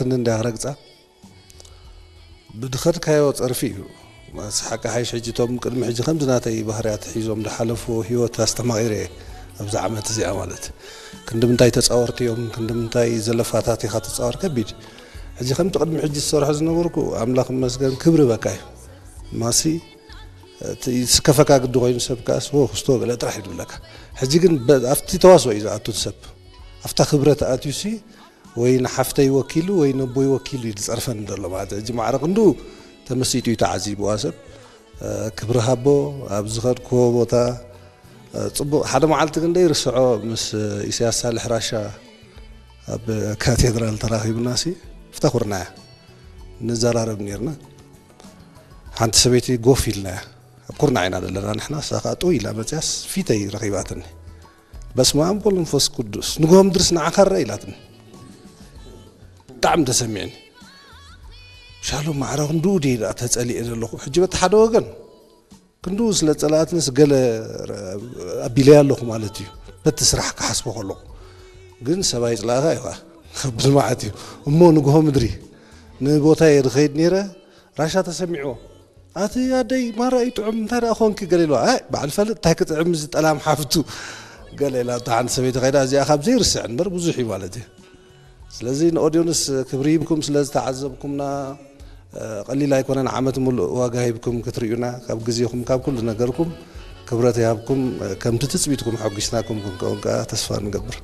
ክንዲ እንዳረግጻ ብድኸድካዮ ጸርፊ እዩ። ስሓቂ ሓይሽ ሕጂ እቶም ቅድሚ ሕጂ ከምዚ ናተይ ባህርያት ሒዞም ዝሓለፍዎ ህይወት ኣስተማቒረ እየ ኣብዚ ዓመት እዚኣ ማለት። ክንዲ ምንታይ ተጻወርቲ እዮም፣ ክንዲ ምንታይ ዘለፋታት ኢኻ ትጻወር፣ ከቢድ። ሕጂ ከምቲ ቅድሚ ሕጂ ዝሰርሖ ዝነበርኩ ኣምላኽ ይመስገን ክብሪ በቃ እዩ። ማሲ እቲ ዝስከፈካ ግዲ ኮይኑ ሰብ ከኣስ ወ ክስቶ ገለ ጥራሕ እዩ ዝብለካ። ሕጂ ግን በ-፣ ኣብቲ ተዋስኦ እዩ ዝኣቱ ሰብ። ኣብታ ክብረት ኣትዩሲ ወይ ንሓፍተይ ወኪሉ ወይ ነቦይ ወኪሉ እዩ ዝጸርፈኒ ዘሎ ማለት እዩ። ሕጂ ማዕረ ክንዱ ተመሲጡ እዩ ተዓዚብዋ ሰብ። እ፣ ክብሪ ሃቦ ኣብ ዝኸድክዎ ቦታ፣ እ፣ ጽቡቕ። ሓደ መዓልቲ ግን ደይርስዖ ምስ ኢሳያስ ሳልሕ ራሻ ኣብ ካቴድራል ተራኺብናሲ ፍታ ኩርናያ ንዘራረብ ኔርና። ሓንቲ ሰበይቲ ጎፍ ኢልናያ። ኣብ ኩርናዕ ኢና ዘለና ንሕና። እሳ ከኣ ጥው ኢላ መጽያስ ፊተይ ረኺባትኒ። "በስመ ኣብ ወመንፈስ ቅዱስ፣ ንግሆ ምድርስ ንዓኻ ረ?" ኢላትኒ። ብጣዕሚ ተሰሚዕኒ። ሻሎም ማዕረ ክንድኡ ድየ ደኣ ተጸሊኤ ዘለኹ? ሕጂ በቲ ሓደ ወገን ክንድኡ ስለ ጸላእትንስ ገለ ኣቢለያ ኣለኹ ማለት እዩ። በቲ ስራሕ ክሓስቦ ከለኹ ግን ሰብኣይ ጽላእኻ እዩ ኸኣ። ከብድ መዓት እዩ። እሞ ንግሆ ምድሪ ንቦታየ ዝኸይድ ነይረ፣ ራሻ ተሰሚዕዎ። "ኣቲ ኣደይ ማራ እዩ ጥዑም፣ እንታይ ደኣ ኾንኪ?" ገለ ኢልዋ። "ኣይ በዓል ፈልጥ እንታይ ክጥዕም እዚ ጠላም ሓፍቱ?" ገለ ኢላ። እታ ሓንቲ ሰበይቲ ኸይዳ፣ እዚኣ ካብ ዘይርስዕ እምበር ብዙሕ እዩ ማለት እዩ። ስለዚ ንኦድዮንስ ክብሪ ሂብኩም ስለ ዝተዓዘብኩምና፣ እ፣ ቀሊል ኣይኮነን። ዓመት ሙሉእ ዋጋ ሂብኩም ክትርእዩና፣ ካብ ግዜኹም፣ ካብ ኩሉ ነገርኩም ክብረት ይሃብኩም። እ፣ ከምቲ ትጽቢትኩም ሓጒስናኩም ክንከውን ከኣ ተስፋ ንገብር።